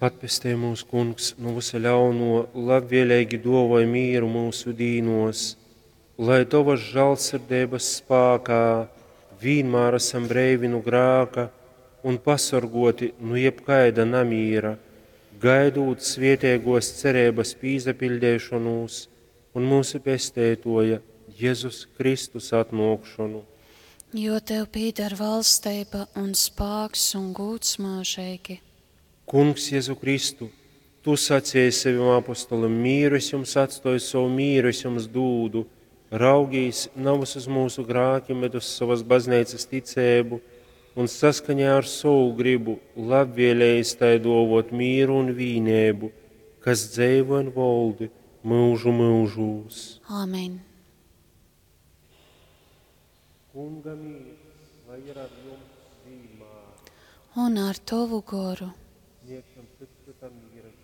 Atpestej mūs, Kungs, nu vysa ļaunuo, labvieleigi duovoj mīru myusu dīnuos, lai Tovas žālsirdeibas spākā vīnmār asam breivi nu grāka un pasorguoti nu jebkaida namīra, gaidūt svieteiguos cereibas pīsapiļdeišonūs un myusu Pesteituoja Jezus Kristus atnuokšonu. Jo Tev pīdar valsteiba un spāks un gūds myužeigi. Kungs Jezu Kristu, Tu saceji sevim apostolim, mīru es jums atstoju, sovu mīru es jums dūdu. Raugīs navys uz mūsu grākim, bet uz sovas bazneicas ticēbu un saskaņā ar sovu gribu labvēlējis tai duovot mīru un vīneibu, kas dzeivo un voldi mūžu mūžūs. Āmen. Kunga mīrs, lai ir ar jums vienmēr. Un ar Tovu goru. Sniegsim cits citam miera.